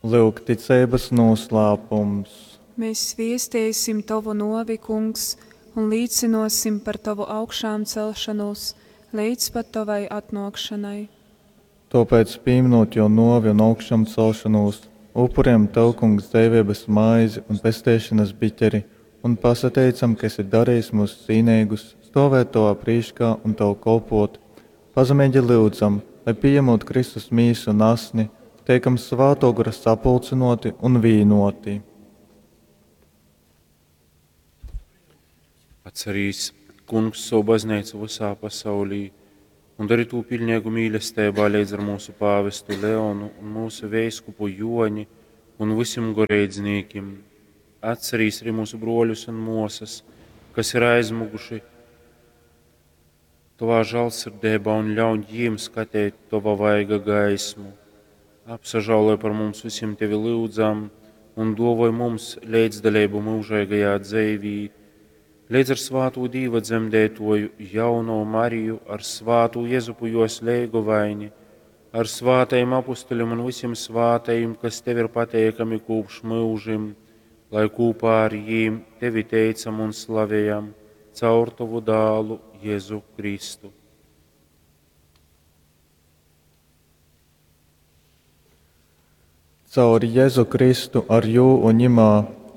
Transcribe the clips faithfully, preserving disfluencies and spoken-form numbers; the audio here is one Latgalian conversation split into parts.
Lyuk ticeibas nūslāpums. Mēs viesteisim Tovu nōvi, Kungs, un līcynōsim par Tovu augšāmcelšonūs leidz pat Tovai atnōkšonai. Tōpēc, pīmynūt Jō nōvi un augšamcelšonūs, upurejam Tev, Kungs, dzeiveibas maizi un pesteišonas biķeri un pasateicam, ka esi darejis myus cīneigus stōvēt Tovā prīškā un Tev kolpōt. Pazemeigi lyudzam, lai, pījamūt Kristus Mīsu un Asni, teikam Svātō Gora sapulcynōti un vīnōti. Atcerīs, Kungs, savu baznīcu visā pasaulī un dari tū pilnīgu mīlestībā līdz ar mūsu pāvestu Leonu un mūsu veiskupu Joni un visiem goreidznīkim. Atcerīs arī mūsu broļus un mosas, kas ir aizmuguši Tavā žēlsirdībā un ļauj jiem skatīt Tava vaiga gaismu. Apsažāloj par mums visiem Tevi lūdzam un dovoj mums līdzdalību mūžīgajā dzīvī, līdz ar svātū Dīva dzemdētoju jauno Mariju, ar svātū Jezupu jos leigovaini, ar svātajiem apustuļiem un visiem svātajiem, kas Tev ir pateikami kopš mūžim, lai kopā ar jiem Tevi teicam un slavējam caur Tavu dālu Jēzu Kristu. Caur Jēzu Kristu ar jū un ņimā,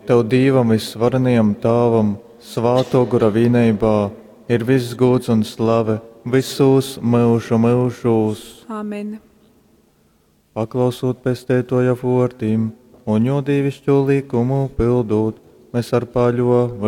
Tev Dīvam vysvarenajam Tāvam, Svātō Gora vīneibā, ir viss gūds un slave visūs myužu myužūs. Amen. Paklausūt Pesteitōja vōrdim un jō dīviškū lykumu pildūt, mēs ar paļōveibu